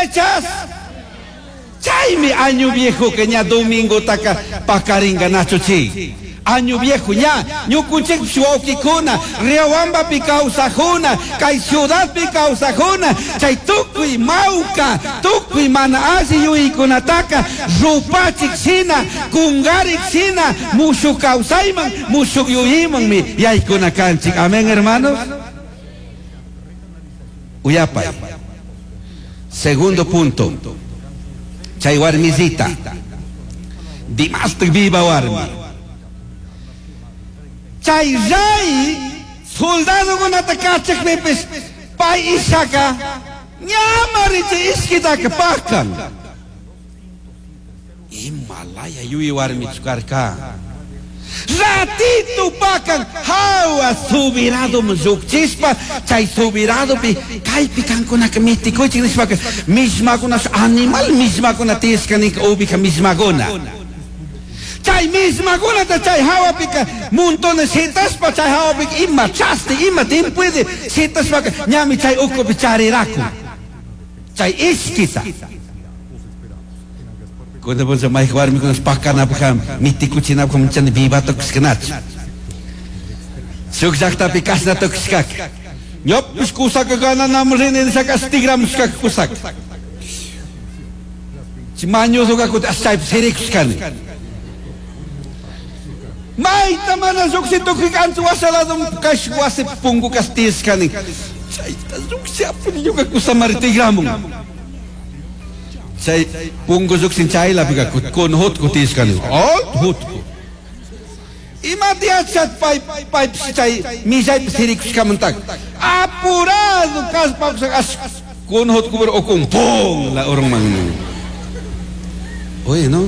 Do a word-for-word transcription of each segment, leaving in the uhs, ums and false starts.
fechas? Chaymi año viejo que ña domingo taka pakaringa nacho chi. Año viejo ña, ñukunchik wawkikuna, Riobambapi kawsajuna, kay ciudadpi kawsajuna, chay tukuy mawka, tukuy mana alli yuyaykunataka rupachik shina, kungarik shina, mushuk kawsayman, mushuk yuyaymanmi yaykuna kanchik. Amén, hermanos. Uyapay. Segundo punto. Chay warmisita. Dimastik viva warmi. Chay rey soldadokunata kachakpipis pay ishaka ñamari chay ishkitaka pakan. Imalaya yuyi warmichu karka. Ratito pakan hawa subirado llukchispa chay subiradopi kaypi kankunaka mitikuychik nishpaka mismakuna animal mismakuna tiyashka ninka ubija mismakuna. Chay mismakunata chay hawapika montones shitaspa chay hawapika ima chasti ima timpuede shitaspaka ñami chay ukupi chariraku chay ishkita. Cuando vos llamáis warmikunas pakanapaj mitikuchinapaj munchani vivata kushkanachu. Shuk llaqtapi kasna tukushkaka. Ñopish kusaka gananaman rini nishaka tigramushkaka kusaka. Chay mañuzuka kuti chaypi sirikushkani. Mayta mana lluqsi tukuy wasalado kash wasi pungu kastishkani. Chayta lluqsi apuni ñuka kusamari tigramun. Chay pungu lluqsin chaylapika kun hutku tishkani. Oh, hutku. Ima tiyachat pay pay chay millaypi sirikushkamantaka. Apurado kaspa as kun hutku pero okun pum la urunman. Oye, ¿no?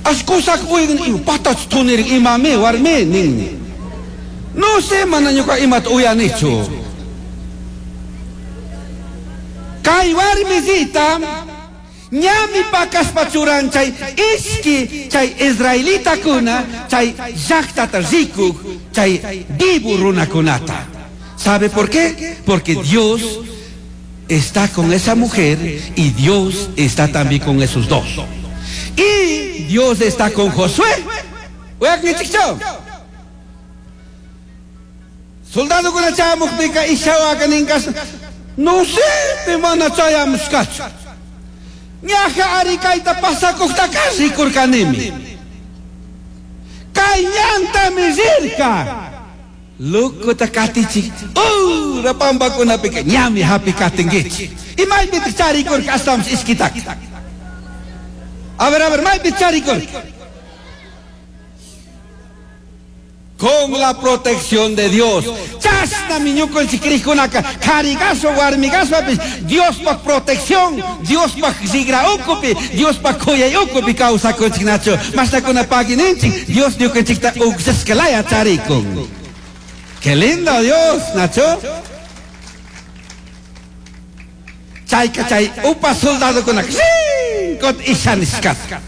As kusak uygin ima patach tunirin imami warmi nin. No sé mana ñuka imata uyanichu. Kay warmisita ñami pakaspa churan chay ishki chay israelitakuna chay llaqtata rikuk chay vivo runakunata. ¿Sabe por qué? Porque Dios está con esa mujer y Dios está también con esos dos. Y Dios está con Josué. Soldado con la chamukpika ishawaka ninkas. No sé, te mana chayamushkachu. Ñaja arikayta pasakuqtaka rikurkanimi. Kay ñantami rirka. Lokuta katichik. Ura pampakunapika ñami hapi katinkichik. Imaypitaq charikurka ashtawanpis ishkitaka. A ver, a ver, maypi charikurka. Con la protección de Dios. Chasnami ñukanchik kriqkunaka qharigaspa warmigaspapis Diospaq protección, Diospaq rigra ukupi, Diospaq khuyay ukupi kawsakunchik nachu. Mashtakuna pagininchik, Dios ñukanchikta uqsasqalaya charikun. Qué lindo Dios, Nacho. Chayka chay upa soldadokunaka kot ishanishkata.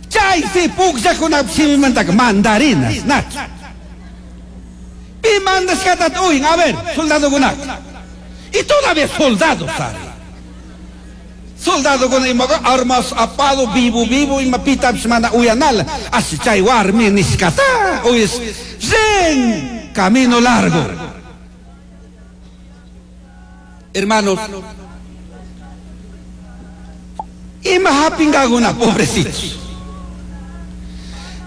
Chay si pukllakuna simimantaka mandarinas, Nacho. Pi mandashkata uyin, a ver, soldadokunaka. Y todavía soldados, ¿sabe? Soldado con ima armas apado vivo vivo ima pitapis mana uyanala. Así chay warmi nishkata uyes zen camino largo. Hermanos, ima hapingaguna pobrecitos.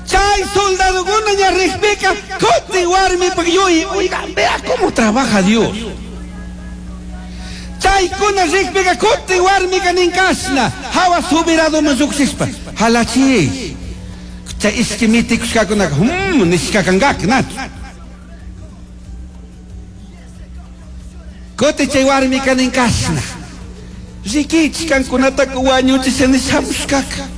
Chay soldado guna ña rikpika kuti warmi pagyuy. Oiga, vea cómo trabaja Dios. Chaykuna rikpika kuti warmika ninkashna hawa subirado lluqsispa halachi chay ishki mitikushkakunaka hum nishkakanqaka nachu. Kuti chay warmika ninkashna rikichik kankunataka wañuchisha nishamushkaka.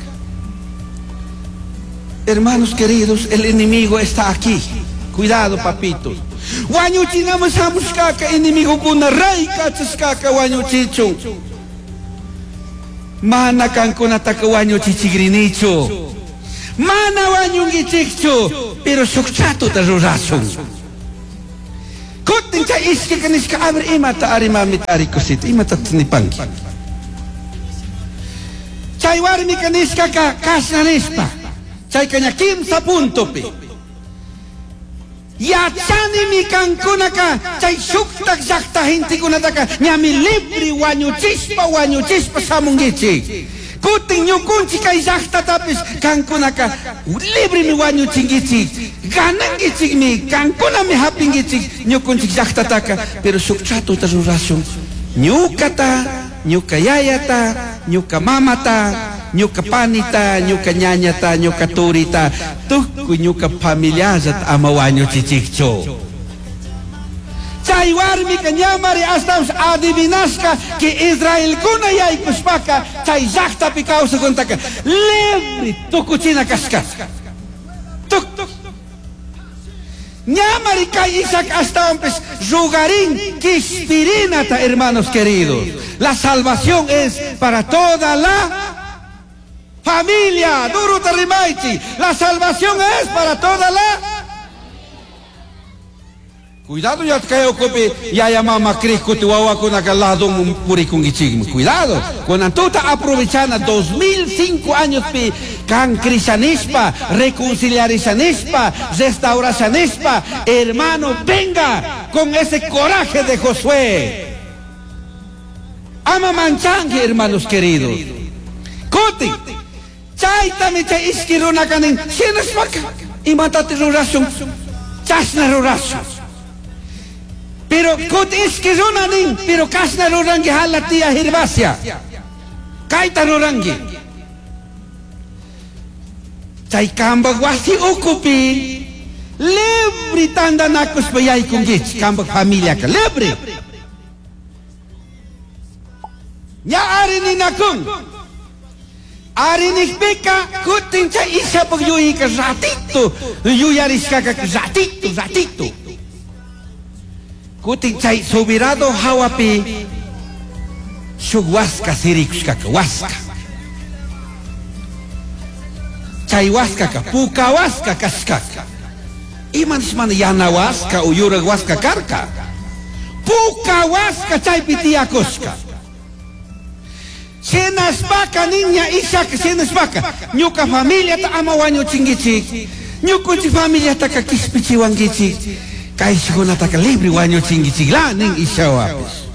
Hermanos queridos, el enemigo está aquí. Cuidado, papitos. Wañuchinaman shamushkaka enemigokuna rey kachashkaka wañuchichun. Mana kankunataka wañuchichigrinichu. Mana wañunkichikchu, pero shuk chatota rurashun. Kuti Kutin chay ishkika nishka, a ver, imata ari mamita ari cosita, imata nipanki. Chay warmika nishkaka kashna nishpa, chayka ña kimsa puntopi. Yachanimi kankunaka chay shuktak llakta gentekunataka ñami libre wañuchishpa wañuchishpa shamunkichik. Kutin ñukunchik kay llaktatapis kankunaka libremi wañuchinkichik, ganankichikmi, kankunami hapinkichik ñukunchik llaktataka, pero shuk tratota rurashun, ñukata, ñuka yayata, ñuka mamata, ñuka panita, ñuka ñañata, ñuka turita, tukuy ñuka familiallata ama wañuchichikchu. Chay warmika ñamari hasta adivinashka que Israelkuna yaykushpaka chay llaktapi kawsakuntaka libre tukuchina kashka. Tuk ñamari kay Isaac ashtawanpis rugarin kishpirinata, hermanos queridos. La salvación es para toda la familia. Duro rimaychi. La salvación es para toda la. Cuidado ya kay ukupi yaya mama krikuti wawakunaka ladunman purikunkichikmi. Cuidado. Kunan tuta aprovechana dos mil cinco años pi kan krishanispa, reconciliarishanispa, restaurashanispa, hermano, venga con ese coraje de Josué. Ama manchangi, hermanos queridos. Kuti, chaytami chay ishki runaka nin, shinashpaka, imatati rurashun, chashna rurashun. Pero kuti ishki runa nin, pero kashna rurangi hala tía Gervasia. Kayta rurangi. Chay kambak wasi ukupi, libre tandanakushpa yaykunkichik, kambak familiaka, libre. Ña ari ninakun. Ari nikpika kutin chay ishapak yuyika ratito, yuyarishkaka ratito, ratito. Kutin chay subirado hawapi shuk waska sirikushkaka, waska. Chay waskaka puka waska kashkaka. Ima nishmana yana waska o yurak waska karka. Puka waska chaypi tiyakushka. Shinashpaka niña Isaac, shinashpaka ñuka familiata ama wañuchinkichik, ñukunchik familiataka kishpichiwankichik, kayshkunataka libre wañuchinkichik la nin Ishawapis.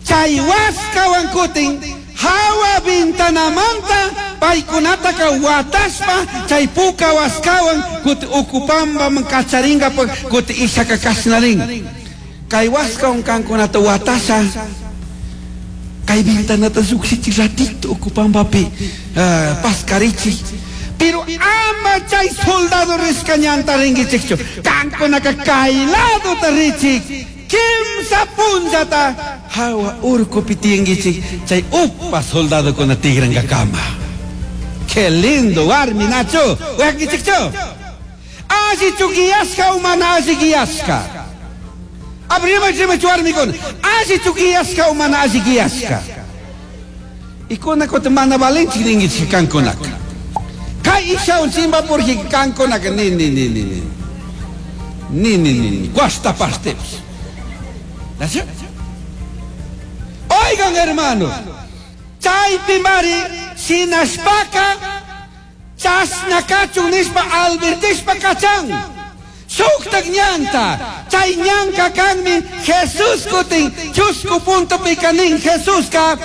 Chay waskawan kutin hawa vintanamanta paykunataka watashpa chay puka waskawan kuti ukupambaman kacharinkapak kuti Isaka kashnarin. Kay waskawan kankunata watasha kay ventanata llukshichik ratito ukupambapi uh, paskarichik. Pero ama chay soldado rishka ñanta rinkichikchu, kankunaka kay ladota richik, kimsa punllata hawa urkupi tiyankichik, chay upa soldadokuna tigrankakama. Qué lindo warmi nacho, uyankichikchu. Allichu guiashka o mana alli guiashka. Abrima rimachu warmikuna, allichu guiashka o mana alli guiashka. Ikuna kuti mana valinchik ninkichik kankunaka. Kay ishawan chimpapurji kankunaka ni ni ni ni ni. Ni ni ni ni, cuasta partepis. Oigan hermanos, chaypi mari shinashpaka chashna kachun nishpa albertishpa kachan. Shuktak ñanta, chay ñanka kanmi Jesús kutin chusku puntopi kanin Jesuska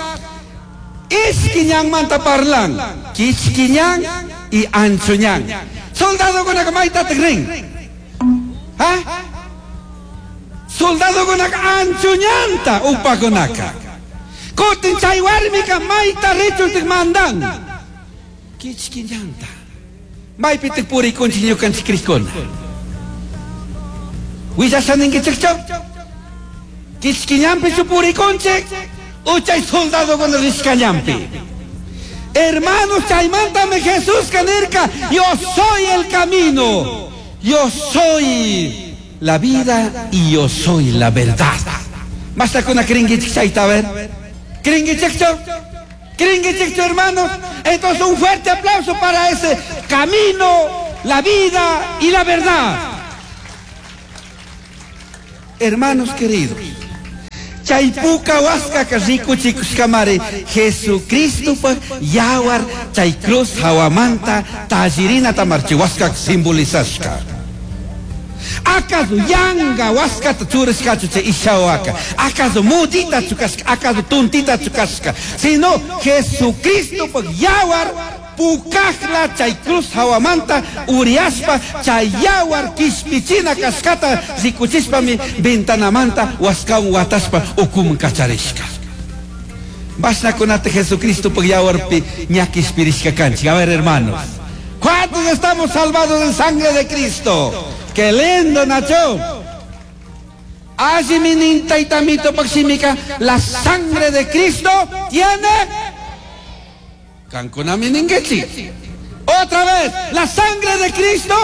ishki ñanmanta parlan, kichki ñan y ancho ñan. Soldadokunaka maytataq rin? ¿Ah? Soldadokunaka ancho ñanta upakunaka. Kutin chay warmika mayta richuntik mandan. Kichki ñanta. Maypitik purikunchik ñukanchik krikuna. Willashaninkichikchu? Kichki ñanpichu purikunchik? Uchay soldadokuna rishka ñanpi. Hermanos, chaymantami Jesús nirka, yo soy el camino, yo soy la vida y yo soy la verdad. Mastakuna krinkichik chayta, a ver. Krinkichikchu? Krinkichikchu, hermanos? Entonces un fuerte aplauso para ese camino, la vida y la verdad. Hermanos queridos, chay puka waskaka rikuchikushkamari Jesucristopa yawar chay cruz hawamanta tallirinata marchiwaskak simbolizashka. ¿Acaso yanga waskata churashkachu chay ishawaka? ¿Acaso mudita chukashka? ¿Acaso tuntita chukashka? Sino Jesucristopa yawar pukajla chay cruz hawamanta uriaspa chay yawar kishpichina kashkata rikuchishpami ventanamanta waskawan wataspa ukuman kacharishka. Bashnakunata Jesucristopa yawarpi ña kishpirishka kanchik. A ver, hermanos, ¿cuántos estamos salvados en sangre de Cristo? ¡Qué lindo, Nacho! Allí mi taitamito paximica, la sangre de Cristo tiene Canconami ninguechi. Otra vez, la sangre de Cristo.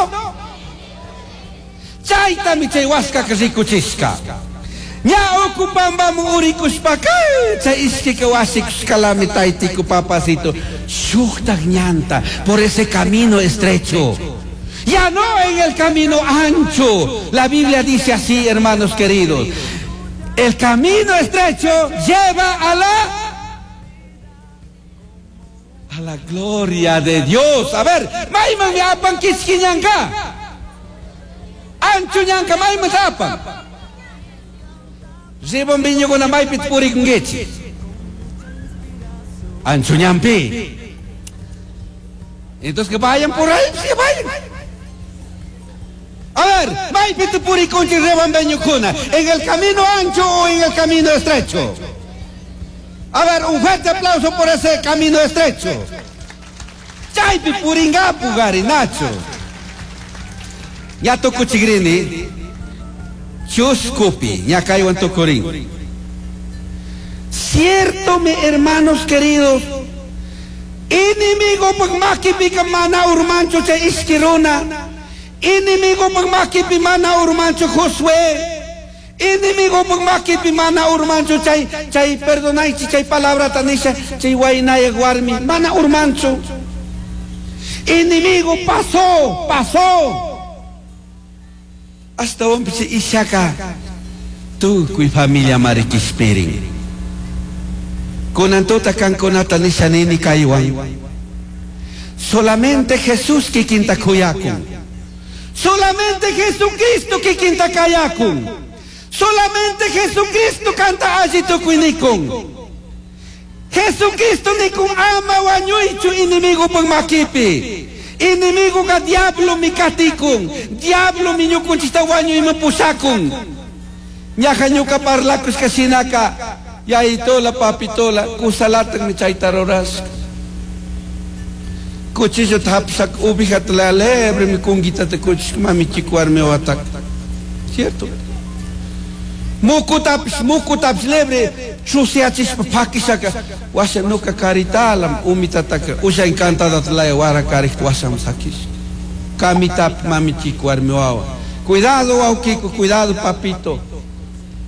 Chaitami chay huasca que rikuchishka. Ña ocupambamu urikushpaka. Chay ishkika wasikushkalami taitiku papacito. Shuktak ñanta por ese camino estrecho. Ya no en el camino ancho. La Biblia dice así, hermanos queridos. El camino estrecho lleva a la a la gloria de Dios. A ver, mayman mi apan kichkiñanka. Ancho ñanka mayman tapan. Ribon viñukuna maypit purikunkichik. Ancho ñampi. Entonces que vayan por ahí, que vayan. A ver, maypit purikunchik ribon viñukuna. ¿En el camino ancho o en el camino estrecho? A ver, un fuerte aplauso por ese camino estrecho. Chaypi puringapu gari, Nacho. Ya tukuchigrini. Chuskupi, ya kaywan tukurin. Cierto, mi hermanos queridos, enemigo pag makipi mana urmancho chay iskiruna. Enemigo pag makipi mana urmancho Josué. Enemigo pag makipi mana urmancho chay chay perdonaichi chay palabra tanisha chay wainaya warmi mana urmancho. Enemigo pasó, pasó. Hasta un piche ishaka tukuy familia marikispirin. Kunantuta kankunata nisha nini kaywan. Solamente Jesús kikinta kuyakun. Solamente Jesucristo kikinta kayakun. Solamente Jesucristo canta allí tukuinikun. Jesucristo nikun ama wañuychu enemigo pag makipi. Enemigo ka diablo mi katikun. Diablo mi ñukunchista wañuy mapusakun. Ñaja ñuka parlakus kasinaka. Yaitola papitola kusalatan ni chayta rurasqa. Cuchillo tapsak ubijat la lebre mi kungita te kuchis mami chikuarmi watak. ¿Cierto? Mukutapis mukutapis lebre chusiachispa pakisaka washa nuka karitalam umitataka usha encantada tlaya wara karik washam sakis. Kamitap mami chikuarmi wawa. Cuidado waukiku, cuidado papito.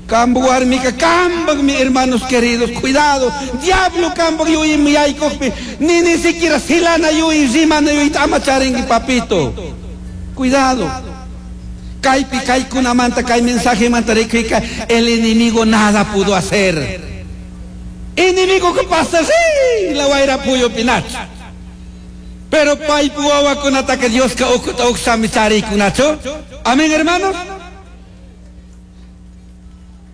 Kambu warmika, kambag mi hermanos queridos, cuidado. Diablo kambag yui mi yaykukpi, ni ni siquiera silana yui, rimana yui, amacharingui papito. Cuidado. Kaypi kaykunamanta, kay mensaje manta rikuyka, el enemigo nada pudo hacer. Enemigo que pasa, sí, la guaira puyo pinacho. Pero paypu wawakunataka Dios ka ukuta uksami charikunachu. Amén, hermanos.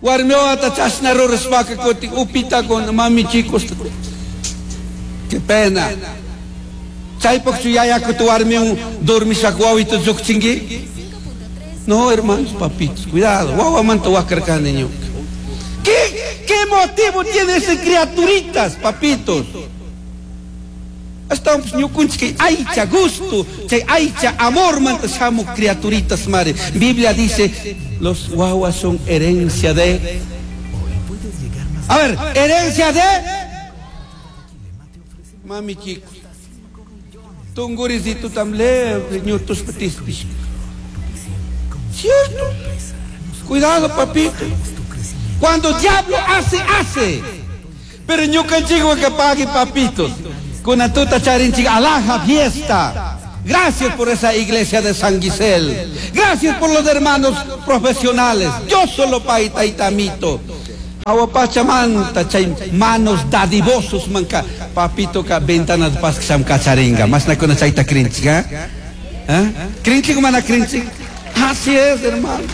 Warmiwata chashna rurashpaka kutin upita con mami chicos. Qué pena. Chaypaqchu yayakuta warmiwan dormishaq wawita lluqchinki? No, hermanos, papitos, cuidado. Wawamanta wakarkani ñuka. ¿Qué, qué motivo tiene ese criaturitas, papitos? Hasta ñukunchik aycha gusto, chay aycha amor manta shamu criaturitas mare. Biblia dice, los guaguas son herencia de... A ver, herencia de... Mami chico. Tungurisito tamle, ñutus petispis. ¿Cierto? Cuidado, papito. Cuando diablo hace, hace. Pero ñukanchikwan que pague, papitos. Con tuta charinchik alhaja fiesta. Gracias por esa iglesia de San Gisel. Gracias por los hermanos profesionales. Yo solo paita y tamito. Awapachamanta chay manos dadivosos manka papito ka ventana de pasque kacharinga. Más na kuna chayta krinchik, ¿eh? ¿Eh? Krinchik mana krinchik. Así es, hermano.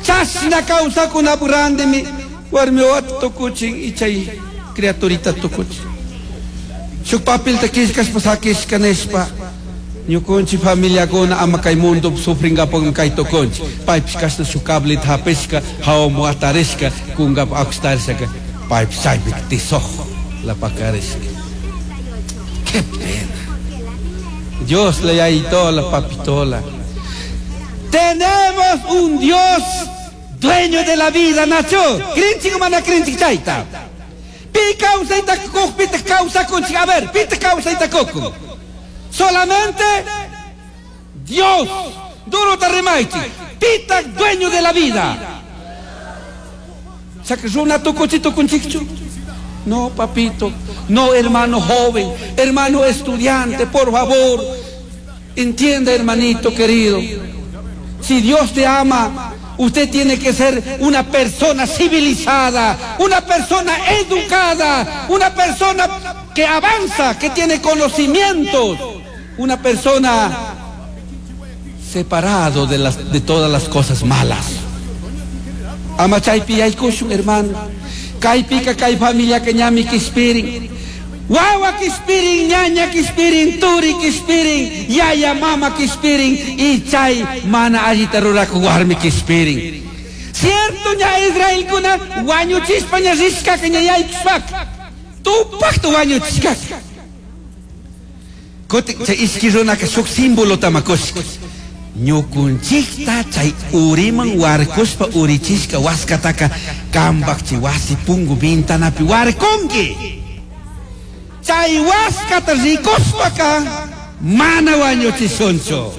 Chasna causa kuna burandemi warmi wat tukuchin y chay criaturita tukuchin. Shuk papilta kishkashpa sakishka nishpa ñukunchik familiakuna ama kay mundo sufringapakmi kay tukunchik paypish kashna shuk cablita hapishka hawaman atarishka kunkapak akustarishaka paypish chaypi tisoj la pakarishka. Qué pena. Dios le yayitola papitola. Tenemos un Dios dueño de la vida, Nacho. Krinchik mana krinchik chayta. Pi kawsayta kuq, pita kawsakunchik. A ver, pita kawsayta kukun. Solamente Dios. Duro ta rimaychik. Pita dueño de la vida. Chaka runa tukuchi tukunchikchu. No, papito. No, hermano joven, hermano estudiante, por favor. Entienda, hermanito querido. Si Dios te ama, usted tiene que ser una persona civilizada, una persona educada, una persona que avanza, que tiene conocimientos, una persona separado de, las, de todas las cosas malas. Ama chaypi yaykushun, hermano. Kaypika kay familia que ñami kispirin. Wawa kispirin, ñaña kispirin, turi kispirin, yaya mama kispirin, y chay mana allita ruraku warmi kispirin. Cierto ña Israelkuna wañuchispa ña rishkaka ña yaykushpaka. Tupakta wañuchishkaka. Kuti chay ishki runaka shuk símbolo tamakushka. Ñukunchikta chay uriman warkushpa urichishka waskataka kambak chay wasi pungu ventanapi warkunki. Chay waskata rikushpaka mana wañuchishunchu.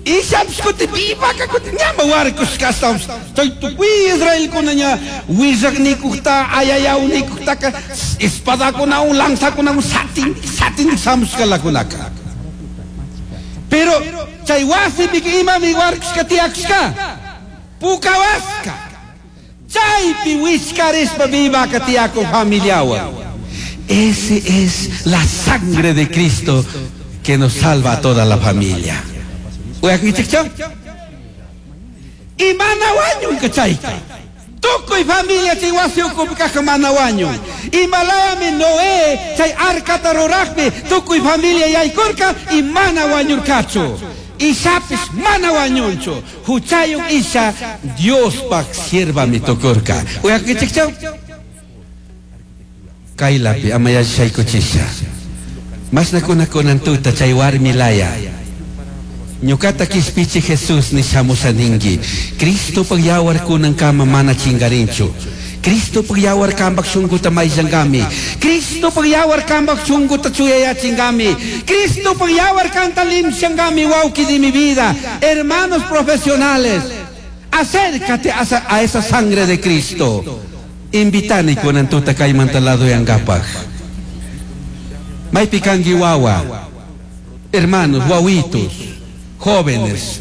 Ishapish kuti vivaka kuti ñama warkushka ashtawanpish chay tukuy Israelkuna ña willaknikukta ayayawnikuktaqa espadakunawan lanzakunawan satin satin shamushkalakunaka. Pero chay wasipika imami warkushka tiyakushka puka waska. Chaypi wichkarishpa vivaka tiyakun familiawan. Ese es la sangre de Cristo que nos salva a toda la familia. Uyakunchikchu? Y mana wañunka chayka. Tukuy familia chay wasi ukupi kajka mana wañun. Imalayami Noé chay arcata rurajpi tukuy familia yaykurka y mana wañurkachu. Ishapish mana wañunchu. Huchayuq isha Diospaq siervami tukurka. Uyakunchikchu? Kaylapi ama yachaykuchisha. Mashnakuna kunan tuta chay warmi laya. Ñuqata kishpichi Jesús nishamusha ninki. Cristopaq yawar kunankama mana chingarinchu. Cristopaq yawar kambaq shunquta mayllankami. Cristopaq yawar kambaq shunquta chuyayachingami. Cristopaq yawar kanta limshankami, wawqi de mi vida. Hermanos profesionales, acércate a esa, a esa sangre de Cristo. Invitani kunan tuta kaymanta laduyankapaq. Maypi kanki wawa, hermanos, wawitos, jóvenes,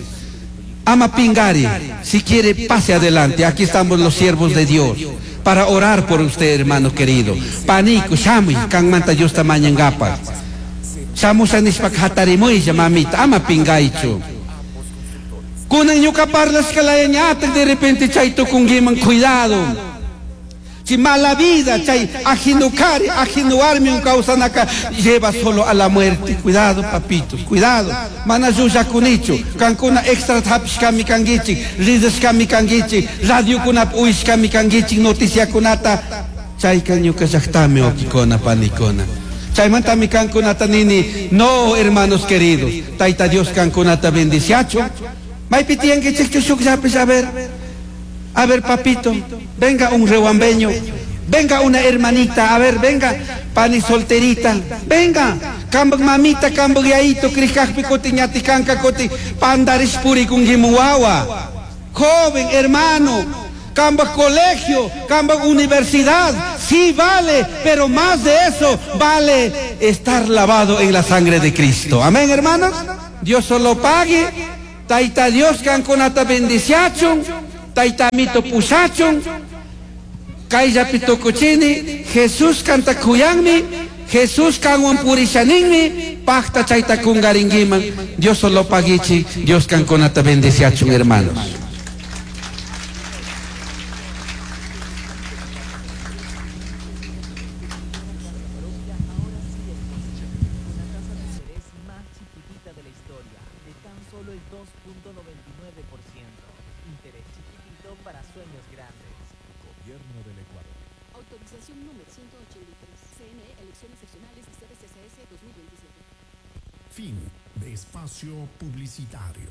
ama pingari, si quiere pase adelante. Aquí estamos los siervos de Dios para orar por usted, hermano querido. Paniku, shamuy, kanmanta Diosta mañankapaq. Shamusha nishpaka hatarimuylla, mamita, ama pingaychu. Kunan ñuka parlashkalaya ñatak de repente chay tukunkiman, cuidado. Si mala vida, chay ajeno kari, ajeno warmi kawsanaka lleva solo a la muerte. Cuidado, papitos, cuidado. Mana llullakunichu, kankuna extra hapishkami kankichik, ridashkami kankichik, radiokunapi uyashkami kankichik, noticiakunata. Chayka ñuka llaqtami wawqikuna, panikuna. Chaymantami kankunata nini, no, hermanos queridos, Tayta Dios kankunata bendiciachu. Maypi tiyankichikchu shukllapish, a ver. A ver, papito, venga un rehuambeño, venga una hermanita, a ver, venga, pani solterita, venga, kambak mamita, kambak yaito, krikakpi koti, ñati kanka koti, pandarish puri kungimuwawa. Joven, hermano, kambak colegio, kambak universidad, Sí vale, pero más de eso vale estar lavado en la sangre de Cristo. Amén, hermanos. Dios solo pague. Taita Dios kankunata bendiciachun. Taita mito pushachun. Kayllapi tukuchini. Jesús kanta kuyanmi. Jesús kanwan purishaninmi. Pacta chayta kungaringuiman. Dios solo paguichi. Dios kankunata bendiciachun, hermanos. Más chiquitita de la historia, de tan solo el dos punto noventa y nueve por ciento. Interés chiquitito para sueños grandes. Gobierno del Ecuador. Autorización número ciento ochenta y tres. C N E, elecciones seccionales y C B C C S dos mil veintisiete. Fin de espacio publicitario.